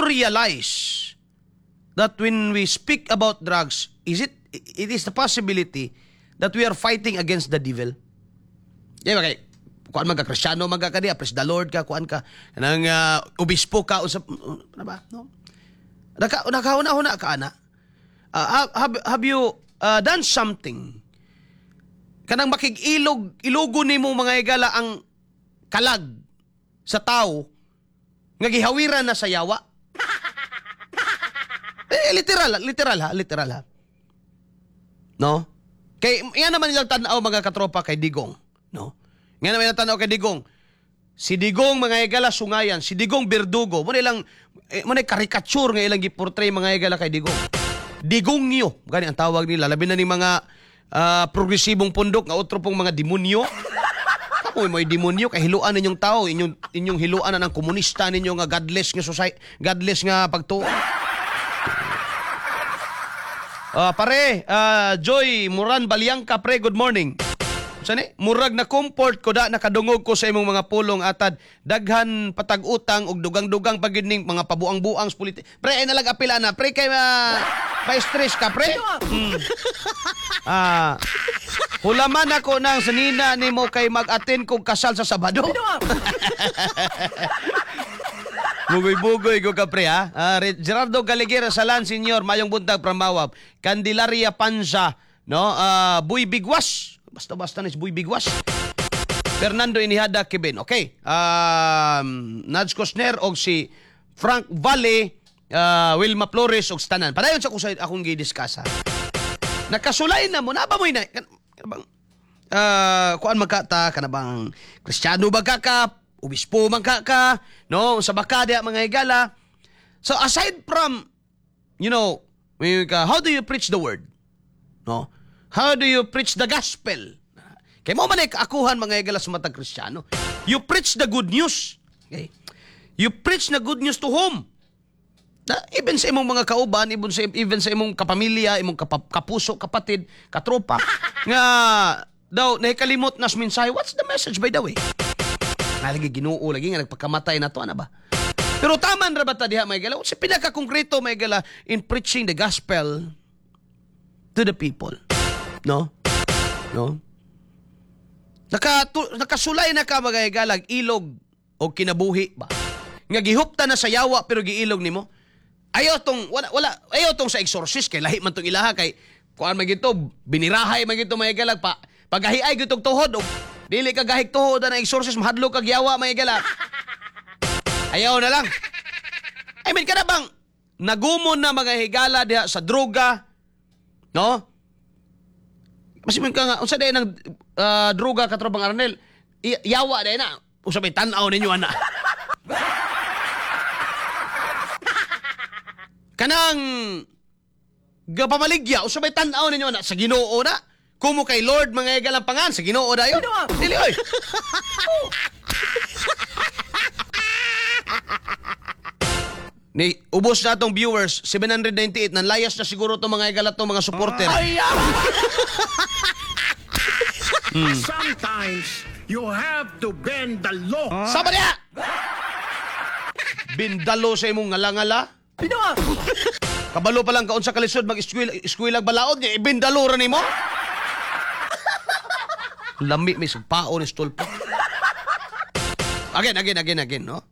you realize that when we speak about drugs, is it it is the possibility that we are fighting against the devil? Di ba kay kuan man ka, Kristiyano man ka diya, praise the Lord ka, kuan ka, nang obispo ka, usap, ano ba? No? Nakahuna-huna ka, ana? Have you done something kanang makig-ilog, ilugo nimo, mga higala, ang kalag sa tao nga gihawiran na sa yawa? Eh, literal, literal ha, literal ha. No? Kay yan naman ilang tan-aw, mga katropa, kay Digong, no? Nga naman ilang tan-aw kay Digong. Si Digong, mga higala, sungayan, si Digong berdugo, mo ilang mo na caricature nga ilang giportray, mga higala, kay Digong. Digongyo, gani ang tawag nila, labi na ni mga progresibong pundok nga otro pong mga demonyo. Kamo mo demonyo kay hiluan ninyong tao, inyong hiluan na ng komunista ninyo nga godless nga society, godless nga pagtuo. Pare, Joy Muran Balyangka, pre, good morning. Sani? Murag na comfort ko da nakadungog ko sa imong mga pulong atad. Daghan patag-utang og dugang-dugang pagid ning mga pabuang-buang sa politi. Pre, ay nalag apila na. Pre, kay pa-stress ka, pre. Hulaman ako ng sanina nimo kay mag-attend kog kasal sa Sabado. Bugoy-bugoy ko ka, pre, ha. Gerardo Galigera Salan Senior, mayong buntag from Mawab. Candelaria Panza, no? Buy Bigwas. Basta-basta ni si Buy Bigwas. Fernando Inihada Kevin. Okay. Nudge Cosner og si Frank Valle, Wilma Flores og Stanan. Padayon sa kung sa akong gi-discuss ha. Nakasulay na mo na ba mo ina kan bang kuan magka ta kana bang Kristiyano ba ka, obispo man ka, no, sa baka diya, mga higala. So aside from how do you preach the word, no? How do you preach the gospel? Kay mo man ay kaakuhan, mga higala, sa matag Kristiyano. You preach the good news, okay? You preach the good news to whom? Na, even sa imong mga kauban, even sa imong kapamilya, imong kapuso, kapatid, katropa, nga daw nahikalimot na sa mensahe. What's the message, by the way? Nga lagi Ginoo lagi nga nagpakamatay na to, ana ba? Pero taman ra ba ta diha, mga higala? Sa pinaka-konkreto, mga higala, in preaching the gospel to the people. No? No? Nakasulay na ka, mga higala, ilog o kinabuhi ba? Nga gihupta na sa yawa pero giilog nimo. Ayaw tong wala wala ayaw tong sa exorcist kay lahi man tong ilaha, kay kuan man gito, binirahay man gito, mga higala, pa pagahiay gitong tuhod og dili ka gahig tuhod na exorcist, mahadlok kag yawa, mga higala. Ayaw na lang. I mean, kada bang nagumon na, mga higala, diha sa droga, no? Mas ka nga unsa day ng droga, katropang Arnel? Yawa day na. Usa may tan-aw ninyo ana. Kanang gapamaligya, usa may tan-aw ninyo ana sa Ginoo na. Kumo kay Lord, mga higalang pangan sa Ginoo dayon. Dili oy. Ni ubos na atong viewers, 798, nanlayas na siguro tong mga higala tong mga supporter. Sometimes you have to bend the law. Sama niya! Bindalo sa imong ngala-ngala. Kabalo pa lang kaun sa kalisod mag-eskwela, eskwelag balaod niya, ibindalo ra nimo. Lami may pao ni stulpo. Again, again, again, again, no?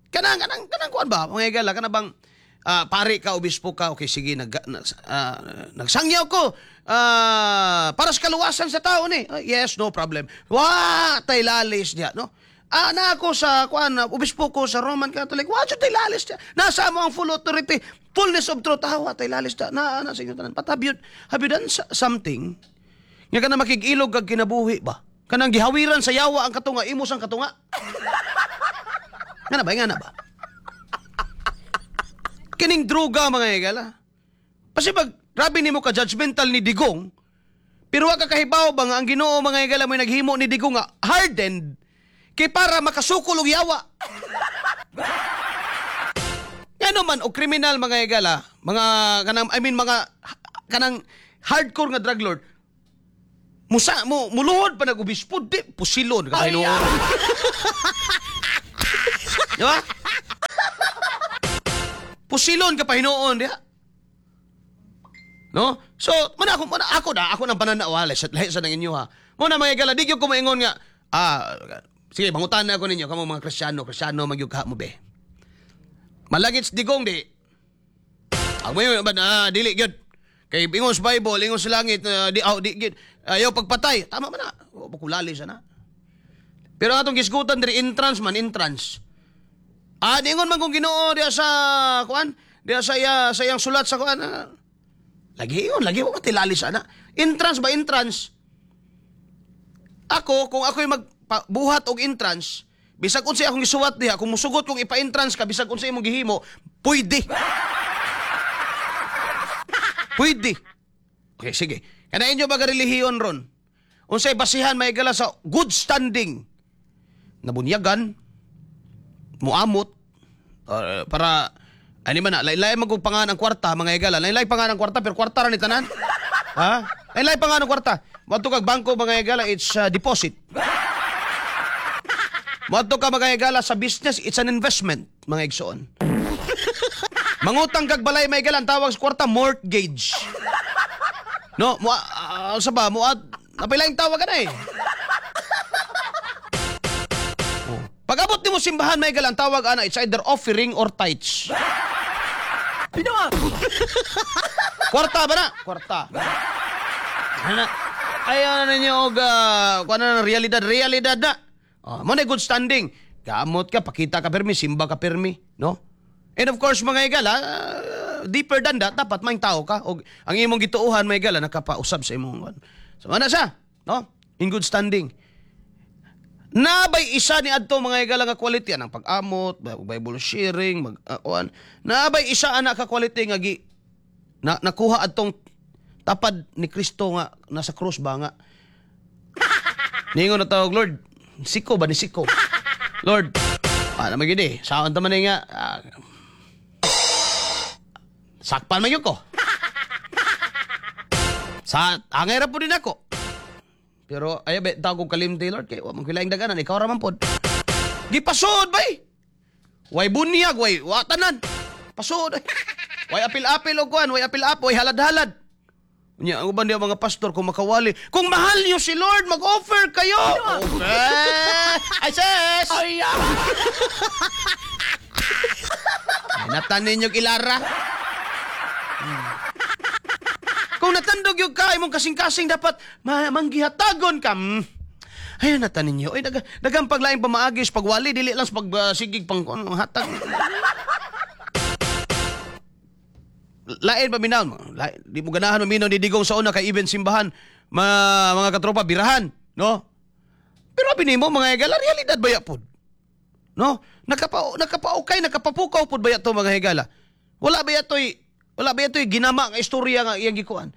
Kanang kanang kanang kuan ba? Mga higala, kana bang pare ka, obispo ka, okay, sige, nagsangyaw ko para sa kaluwasan sa tao ni. Ah, yes, no problem. Wa tay lalis diya, no? Na ako sa kuan, obispo ko sa Roman Catholic. Wa jud tay lalis diya. Nasa mo ang full authority, fullness of truth. Ah, wa tay lalis diya. Na sa inyo tanan. But have you done something nga kana makig-ilog kag kinabuhi ba? Kanang gihawiran sa yawa ang katunga, imos ang katunga. Nga na ba? Nga na ba? Kining droga, mga higala. Kasi pag grabe nimo ka judgmental ni Digong, pero wa ka kahibaw ba nga ang Ginoo, mga higala, mo naghimo ni Digong nga hardened kay para makasukol og yawa. Ngano man og kriminal, mga higala, mga kanang, I mean, mga kanang hardcore nga drug lord, musa mo muluhod pa nag-obispo, di pusilon ka hinuon. Di ba? Pusilon ka pa hinuon diha. No? So, mana ako na, ako ng pananaw, ha, lahi sa nang inyo ha. Mo na mga higala, di gyud ko maingon nga, sige, mangutan na ako ninyo, kamo mga Kristiyano, Kristiyano magyug ka mo be. Malagit Digong di. Ang mo ba na dili gyud. Kay ingon sa Bible, ingon sa langit, di aw di gyud. Ayaw pagpatay. Tama man na. Wa pa kulali sa na. Pero atong gisgutan diri entrance man, entrance. Diingon man kung Ginoo diya sa kuan, diya sa iya sa iyang sulat sa kuan. Lagi yun, lagi ko tilali sana. Entrance ba entrance? Ako, kung ako'y magbuhat og entrance, bisag unsay akong gisuwat diha, kung musugot kong ipa-entrance ka, bisag unsay imong gihimo, pwede. Pwede. Okay, sige. Kana inyo ba relihiyon ron? Unsay basihan may gala sa good standing? Nabunyagan, muamot, para ani man na, lain-lain man kung pangan ang kwarta, mga higala. Lain-lain pangan ang kwarta, pero kwarta ra ni tanan. Ha? Lain-lain pangan ang kwarta. Moadto kag bangko, mga higala, it's deposit. Moadto ka, mga higala, sa business, it's an investment, mga igsoon. Mangutang kag balay, mga higala, ang tawag sa kwarta, mortgage. No, mo sa ba, mo napilaing tawag ka na eh. Oh. Pag abot nimo simbahan, mga higala, ang tawag ana, it's either offering or tithes. Kwarta ba na? Kwarta. Ano? Ayaw na ninyo og kuan na realidad, realidad na. Oh, mo na good standing. Gamot ka, pakita ka permi, simba ka permi, no? And of course, mga higala, deeper than that, dapat may tao ka. Og ang imong gituohan, mga higala, nakapausab sa imong kuan. So, mana siya, no? In good standing. Nabay isa ni adto mga higala nga quality anang pag-amot, Bible sharing, mag kuan. Nabay isa ana ka quality nga gi na, nakuha adtong tapad ni Kristo nga nasa krus ba nga. Ningon na tawag, "Lord, siko ba ni siko? Lord, ano man gyud eh, saan ta man eh nga, sakpan man gyud ko. Sa angay ra po din ako. Pero ay be tawag kong kalimti, Lord, kay wa man kilaing daganan, ikaw ra man pod." Gipasod bay. Way bunyag, way wa tanan. Pasod. Way apil-apil og kuan, way apil-apil, way halad-halad. Unya, ang uban diya mga pastor kung makawali, kung mahal niyo si Lord, mag-offer kayo. Okay. Ay, sis! Ay, ay natan ninyo ilara. Kung natandog yung ka, imong kasing-kasing dapat manggihatagon ka. Ayun natan ninyo. Ay, dagang paglaing pamaagis, pagwali, dili lang sa pagsigig pang ano, hatag. Lain pa minaw. Lain, di mo ganahan maminaw ni Digong sa una kay even simbahan, mga katropa, birahan, no? Pero abi nimo mga higala, realidad ba ya pod? No? Nakapaukay, nakapapukaw pod ba ya to mga higala? Wala ba ya to'y ginama nga istorya nga iyang gikuan?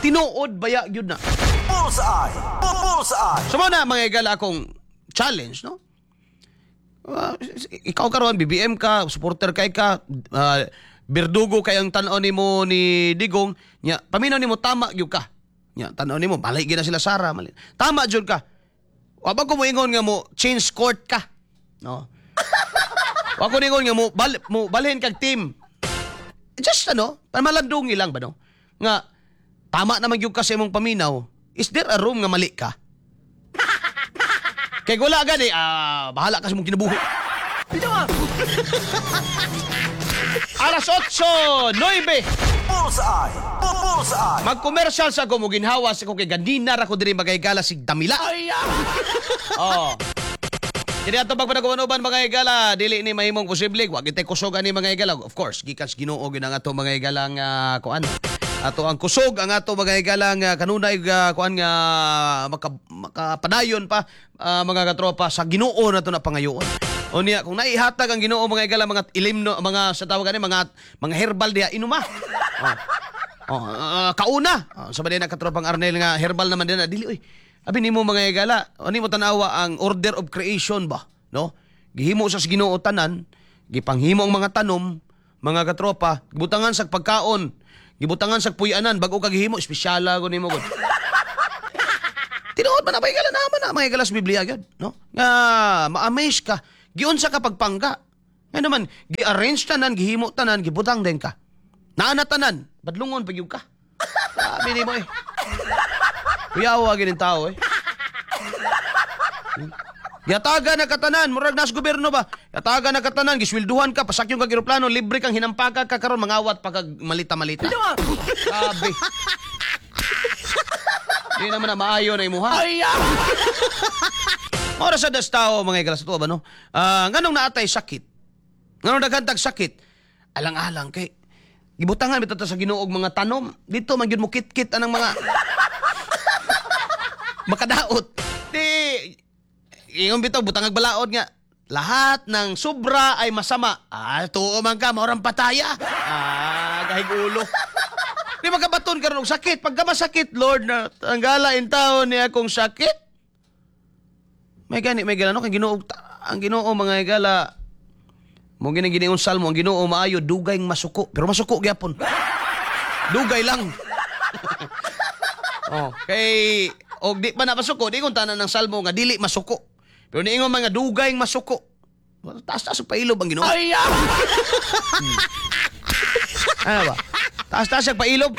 Tinuod ba ya gyud na? Bullseye! Bullseye! So mo na mga higala akong challenge, no? Ikaw karon BBM ka, supporter kay ka, berdugo kay ang tan-aw nimo ni Digong, nya paminaw nimo tama gyud ka. Nya tan-aw nimo mali gyud na sila Sara, mali. Tama jud ka. Wa ba ko moingon nga mo change court ka? No. Wa ko ningon nga mo balhin kag team. Just ano, pamalandungi lang ba no? Nga tama naman gyud ka sa imong paminaw. Is there a room nga mali ka? Kay wala gani, bahala ka sa imong kinabuhi. Alas 8:09. Bullseye! Bullseye! Mag-commercial sa ako, muginhawa sa ko kay ganina ra ko diri magaygala sig Damila. Oh. Kini ato pagpanaguban mga higala, dili ni mahimong posible, wa gitay kusog ani mga higala. Of course, gikan sa Ginoo gyud ang ato mga higala nga kuan. Ato ang kusog ang ato mga higala nga kanunay kuan nga makapadayon pa mga katropa sa Ginoo nato na pangayoon. Unya kung naihatag ang Ginoo mga higala mga ilimno mga sa tawag ani mga herbal diha inuma. Oh. Oh, kauna. Oh, sa ba na katropang Arnel nga herbal naman din na dili oy. Abi nimo mga higala, ani mo tan-awa ang order of creation ba, no? Gihimo sa Ginoo tanan, gipanghimo ang mga tanom, mga katropa, gibutangan sa pagkaon, gibutangan sa puy-anan bag-o ka gihimo, espesyala gud nimo gud. Tinuod man na mga higala naman na mga higala sa Biblia gyud, no? Nga ma-amaze ka, giunsa ka pagpangka. Ngayon naman, gi-arrange tanan, gihimo tanan, gibutang din ka. Naa na tanan, badlungon pa gyud ka. Sabi ni mo eh. Kuyawa ginin tao eh. Yataga na katanan, murag nas gobyerno ba? Yataga na katanan, giswelduhan ka, pasakyon kag eroplano, libre kang hinampaka ka karon mangawat pa kag malita-malita. Sabi. Di naman na maayo na imuha. Ay! Oras sa das tao, mga igala sa tuwa ba, no? Ah, nganong naatay sakit? Nganong daghan tag sakit? Alang-alang kay gibutangan bitaw ta sa Ginoo og mga tanom. Dito man gyud mo kit-kit anang mga makadaot. Di ingon bitaw butangag balaod nga lahat ng sobra ay masama. Ah, tuo man ka, maurang pataya. Ah, gahig ulo. Di makabaton karon og sakit. Pagka masakit, Lord, na tanggala in taon niya akong sakit. May gani, may gala, no? Kay Ginoo, ang Ginoo mga higala, mo gini giniong salmo, ang Ginoo maayo, dugay masuko. Pero masuko gyapon. Dugay lang. Oh, kay og di pa na masuko, di kung tanan ng salmo nga dili masuko. Pero niingon mga dugay masuko. Taas-taas ang pailob ang Ginoo. Ay! Ano ba? Taas-taas ang pailob.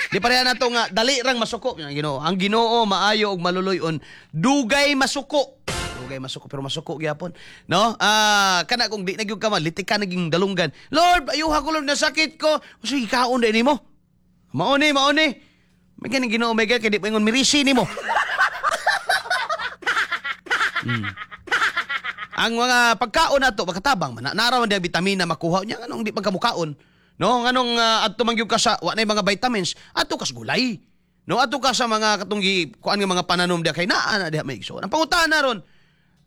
Di pareha na to nga dali rang masuko ang Ginoo. Ang Ginoo maayo og maluloy-on, dugay masuko. Dugay masuko pero masuko gyapon. No? Ah, kana kung di na gyud ka malitik ka naging dalunggan. Lord, ayuha ko Lord na sakit ko. Sige, kaon din nimo. Mao ni, mao ni. May ganing Ginoo may kay di pa ingon mirisi nimo. Ang mga pagkaon nato makatabang man. Nara man diya bitamina makuha niya nganong di pagkamukaon. No, nganong adto man gyud ka sa wa nay mga vitamins, adto kas gulay. No, adto ka sa mga katong gi kuan nga mga pananom diya kay naa na diha may igsoon. Ang pangutana ron,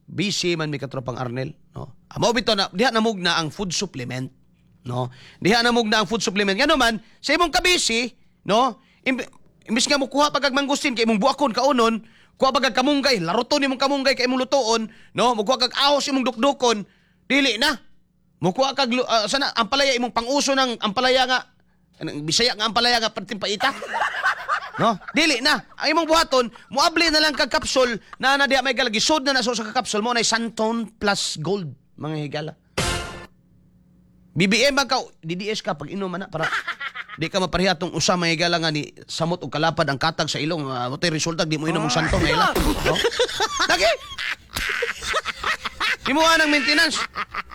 busy man mi katropang Arnel, no. Amo bitaw na diha namugna ang food supplement, no. Diha namugna ang food supplement. Ngano man sa imong kabisi, no, imbis nga mokuha pa kag mangustin kay imong buakon kaunon, kuha pa kag kamunggay, laruton imong kamunggay kay imong lutoon, no, mukuha kag ahos imong dukdukon, dili na. Mukuha kag sana ampalaya imong panguso ng ampalaya nga anong Bisaya nga ampalaya nga perting paita. No? Dili na. Ang imong buhaton, muabli na lang kag kapsul na na diha may galagi sud na na sa kapsul mo na Santon plus Gold mga higala. BBM ba ka DDS ka pag inom na para di ka mapareha tong usa mga higala nga ni samot og kalapad ang katag sa ilong, uh, resulta di mo inom og Santon nga ila. No? Lagi. Imuha ng maintenance.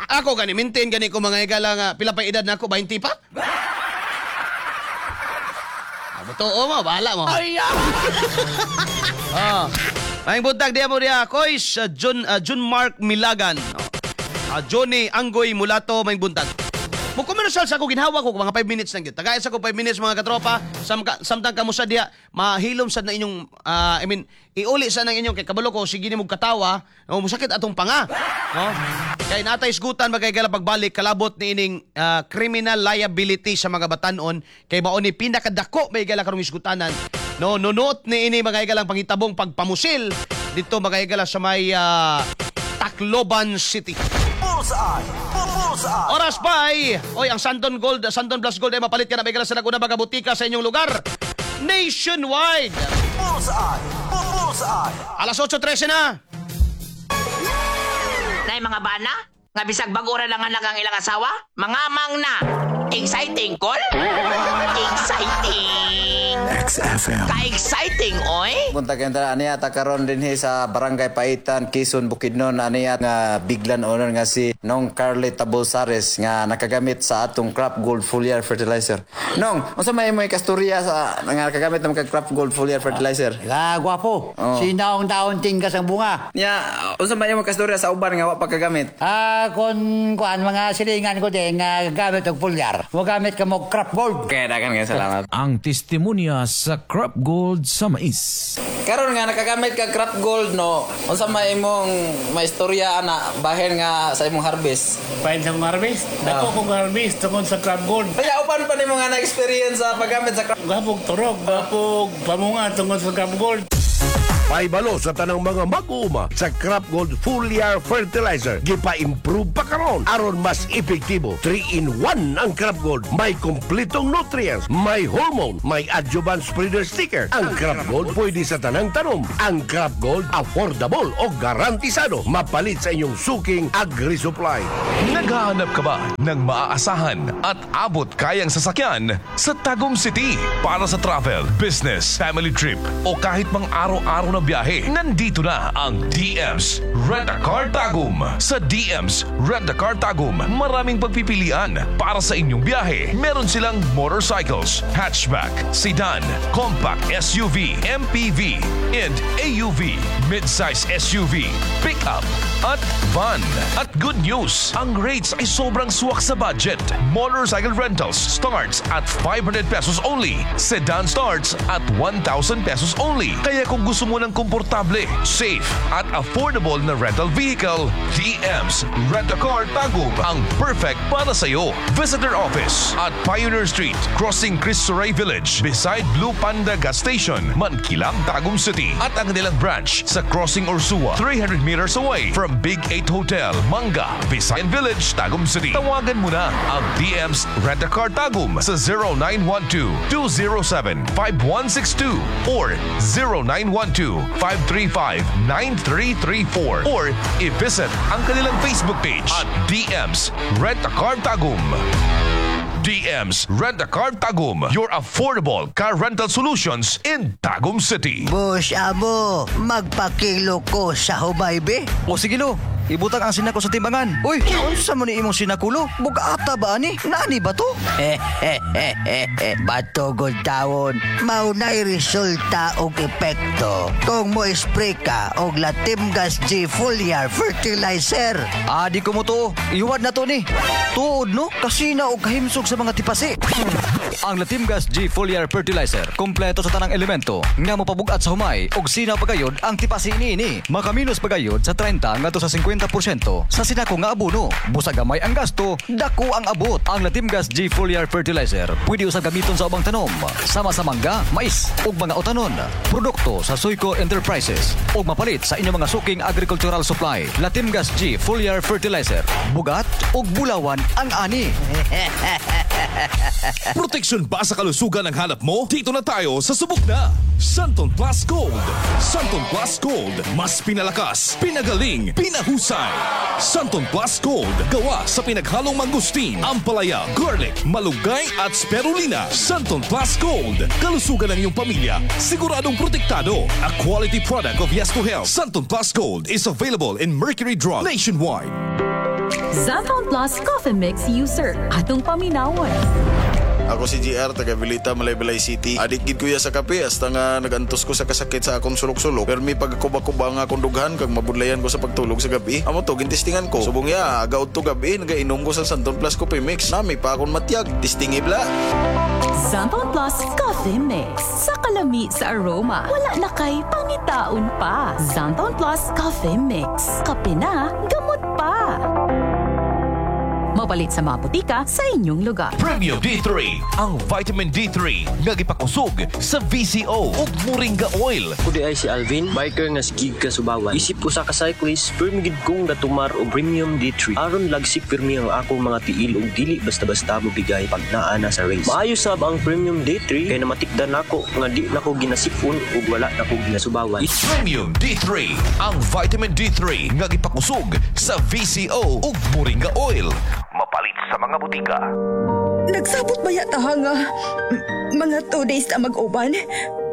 Ako gani maintain gani ko mga higala nga pila pa edad na ako 20 pa. Totoo mo, bahala mo. Ay! Ah. Maayong buntag diya mo diya Kois, John, John Mark Milagan. Oh. Johnny Anggoy Mulato, maayong buntag. Mo commercial sa ako ginhawa ko mga 5 minutes lang gyud. Tagay sa ko 5 minutes mga katropa. Samtang kamo sa diha mahilom sad na inyong I mean iuli sa nang inyong kay kabalo ko sige nimo katawa, no, musakit atong panga. No? Kay natay isgutan magkay pagbalik kalabot ni ining criminal liability sa mga batanon kay mao ni pinakadako may gala karong isgutanan. No, nunuot ni ini mga higalang pangitabong pagpamusil dito mga higala sa may Tacloban City. Bullseye! Bullseye! Oras pa ay, oy, ang Santon Gold, Santon Plus Gold ay mapalit ka na may sa Laguna mga butika sa inyong lugar. Nationwide. Bullseye! Bullseye! Alas 8:13 na. Nay mga bana, nga bisag bag-o ra lang anak ang ilang asawa, mga mang na. Exciting, kol? Exciting! XFM. Ka-exciting, oy! Buntag kayong tanan aniya ta karon dinhi sa Barangay Paitan, Quezon, Bukidnon aniya nga biglan owner nga si Nong Carly Tabolsares nga nakagamit sa atong Crop Gold Foliar Fertilizer. Nong, unsa may imo kasturya sa nga nakagamit ng kag Crop Gold Foliar Fertilizer? La, gwapo. Oh. Sinaong taon tingkas ang bunga. Nya, unsa may imo kasturya sa uban nga wa pa kagamit? Ah, kon kuan mga silingan ko din nga gamit og foliar. Mo gamit ka mo Crop Gold. Kaya dagan kay salamat. Ang testimonya sa Crop Gold sa mais. Karon nga nakagamit ka Crop Gold no, unsa may imong maistorya ana bahin nga sa imong harvest? Pain sa kong harvest. Dako kong harvest tungod sa Crop Gold. Kaya uban pa nimo nga na-experience sa paggamit sa Crop Gapog turog, gapog pamunga tungod sa Crop Gold. Paibalo sa tanang mga mag-uuma sa Crop Gold Foliar Fertilizer. Gipa-improve pa karon aron mas epektibo. 3 in 1 ang Crop Gold. May kompletong nutrients, may hormone, may adjuvant spreader sticker. Ang Crop Gold pwede sa tanang tanom. Ang Crop Gold affordable o garantisado. Mapalit sa inyong suking agri-supply. Naghahanap ka ba ng maaasahan at abot kayang sasakyan sa Tagum City para sa travel, business, family trip o kahit mang araw-araw na biyahe? Nandito na ang DM's Rent a Car Tagum. Sa DM's Rent a Car Tagum, maraming pagpipilian para sa inyong biyahe. Meron silang motorcycles, hatchback, sedan, compact SUV, MPV, and AUV, midsize SUV, pickup, at van. At good news, ang rates ay sobrang swak sa budget. Motorcycle rentals starts at ₱500 only. Sedan starts at ₱1,000 only. Kaya kung gusto mo ng komportable, safe, at affordable na rental vehicle, DM's Rent a Car Tagum ang perfect para sa'yo. Visit their office at Pioneer Street, crossing Cristo Rey Village, beside Blue Panda Gas Station, Mankilam, Tagum City. At ang kanilang branch sa Crossing Ursua, 300 meters away from Big 8 Hotel, Manga, Visayan Village, Tagum City. Tawagan mo na ang DM's Rent a Car Tagum sa 0912-207-5162 or 0912-535-9334 or i-visit ang kanilang Facebook page at DM's Rent a Car Tagum. DM's Rent a Car Tagum, your affordable car rental solutions in Tagum City. Boss amo, magpakilo ko sa humay be. O sige lo, ibutang ang sinako sa timbangan. Uy, unsa man ni imong sinako, lo? Bugata ba ani? Naani ba to? Batugod tawon, mao na'y resulta og epekto kung mo spray ka og Latimgas G Foliar Fertilizer. Ah, di ko mo to. Iwad na to ni. Tuod no, kasina og kahimsog sa mga tipasi. Ang Latimgas G Foliar Fertilizer, kompleto sa tanang elemento nga mopabugat sa humay og sinaw pagayod ang tipasi niini. Makaminos pagayod sa 30 ngadto sa 50% sa sinako nga abono. Busa gamay ang gasto, dako ang abot. Ang Latimgas G Foliar Fertilizer pwede usab gamiton sa ubang tanom, sama sa mangga, mais ug mga utanon. Produkto sa Suico Enterprises ug mapalit sa inyong mga suking agricultural supply. Latimgas G Foliar Fertilizer, bugat ug bulawan ang ani. Proteksyon ba sa kalusugan ang hanap mo? Dito na tayo sa subok na! Xanthone Plus Gold. Xanthone Plus Gold. Mas pinalakas, pinagaling, pinahusay. Xanthone Plus Gold. Gawa sa pinaghalong mangosteen, ampalaya, garlic, malunggay at spirulina. Xanthone Plus Gold. Kalusugan ng iyong pamilya, siguradong protektado. A quality product of Yes to Health. Xanthone Plus Gold is available in Mercury Drug nationwide. Xanthone Plus Coffee Mix user. Atong paminawon. Ako si GR, taga Vilita, Malaybalay City. Adik gid kuya sa kape, hasta nga nagantos ko sa kasakit sa akong sulok-sulok. Pero may pagkuba-kuba nga akong dughan, kag mabudlayan ko sa pagtulog sa gabi. Amo to, gintistingan ko. Subong ya, aga to gabi, nagainom ko sa Xanthone Plus Coffee Mix. Nami pa akong matyag, tistingi bla. Xanthone Plus Coffee Mix. Sa kalami sa aroma, wala na kay pangitaon pa. Xanthone Plus Coffee Mix. Kape na, gamot pa. Mapalit sa mga botika sa inyong lugar. Premium D3, ang vitamin D3 nga gipakusog sa VCO ug Moringa oil. Ako diay si Alvin, biker nga sigig kasubawan. Isip usa ka cyclist, pirmi gid kong gatumar og Premium D3. Aron lagsik pirmi ang akong mga tiil ug dili basta-basta mobigay pag naa na sa race. Maayo sab ang Premium D3 kay namatikdan nako nga di nako ginasipon ug wala nako ginasubawan. Premium D3, ang vitamin D3 nga gipakusog sa VCO ug Moringa oil. Mapalit sa mga botika. Nagsabot ba yata nga mga 2 days na mag-uban?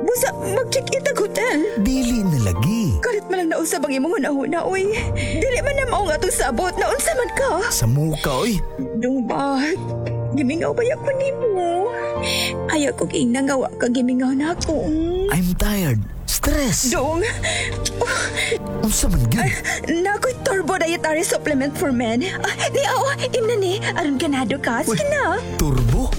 Busa, mag-check-in tag hotel. Dili na lagi. Kalit man lang nausab ang imong hunahuna, oy. Dili man na mao nga atong sabot, naunsa man ka? Sa muka, oy. Dong ba? Gimingaw ba ko nimo? Ayaw ko ingna nga wa ka gimingaw na ako. I'm tired. Stress. Dong. Unsa man gyud? Naa ko'y Turbo Dietary Supplement for Men. Ah, ni, oh, imna ni. Aron ganado ka. Sige na. Turbo?